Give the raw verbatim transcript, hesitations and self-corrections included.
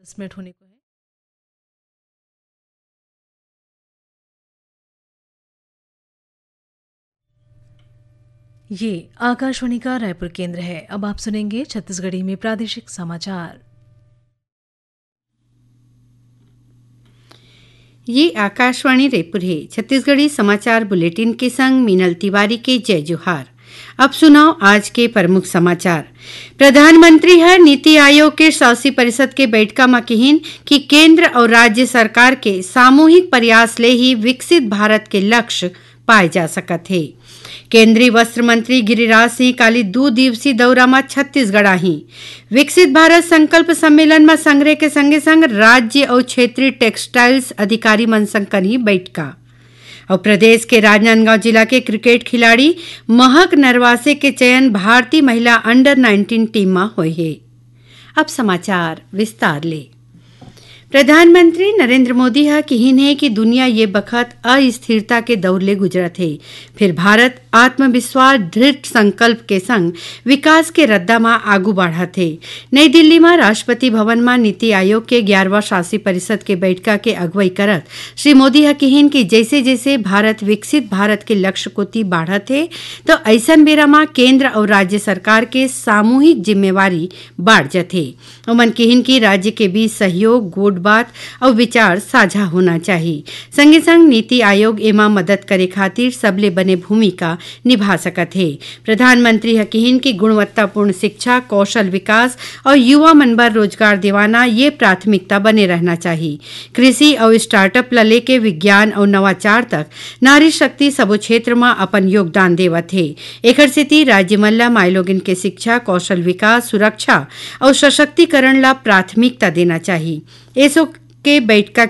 दस मिनट होने को है। ये आकाशवाणी का रायपुर केंद्र है। अब आप सुनेंगे छत्तीसगढ़ी में प्रादेशिक समाचार। ये आकाशवाणी रायपुर है। छत्तीसगढ़ी समाचार बुलेटिन के संग मीनल तिवारी के जय जोहार। अब सुनव आज के प्रमुख समाचार। प्रधानमंत्री ह नीति आयोग के शासी परिषद के बैठका म किहिन कि केंद्र अउ राज्य सरकार के सामूहिक प्रयास ले ही विकसित भारत के लक्ष्य पाए जा सकत हे। केंद्रीय वस्त्र मंत्री गिरिराज सिंह काली दू दिवसीय दौरा म छत्तीसगढ़ आही। विकसित भारत संकल्प सम्मेलन म संघरे के संगे संग राज्य अउ क्षेत्रीय टेक्सटाइल्स अधिकारी मन संग करही बैठका। अउ प्रदेश के राजनांदगांव जिला के क्रिकेट खिलाड़ी महक नरवासे के चयन भारतीय महिला अंडर नाइनटीन टीम म होय हे। अब समाचार विस्तार ले। प्रधानमंत्री नरेंद्र मोदी ह किहिन हे कि दुनिया ये बखत अस्थिरता के दौर ले गुजरत हे, फिर भारत आत्मविश्वास, दृढ़ संकल्प के संग विकास के रद्दा म आगू बढ़त हे। नई दिल्ली म राष्ट्रपति भवन म नीति आयोग के ग्यारहवाँ शासी परिषद के बैठका के अगुवाई करत श्री मोदी ह किहिन कि जैसे जैसे भारत विकसित भारत के लक्ष्य कोति बढ़त हे, तो अइसन बेरा म केंद्र अउ राज्य सरकार के सामूहिक जिम्मेवारी बाढ़ जथे। ओमन किहिन कि राज्य के बीच सहयोग, गोठ बात अउ विचार साझा होना चाही। संगे संग नीति आयोग एमा मदद करे खातिर सबले बने भूमिका निभा सकत हे। प्रधानमंत्री ह किहिन कि गुणवत्तापूर्ण शिक्षा, कौशल विकास अउ युवा मन बर रोजगार दिवाना ये प्राथमिकता बने रहना चाही। कृषि अउ स्टार्टअप ल लेके विज्ञान अउ नवाचार तक नारी शक्ति सबो क्षेत्र म अपन योगदान देवत हे। एखर सेती राज्य मन ल माईलोगिन के शिक्षा, कौशल विकास, सुरक्षा अउ सशक्तिकरण ल प्राथमिकता देना चाही। एसो के बैठका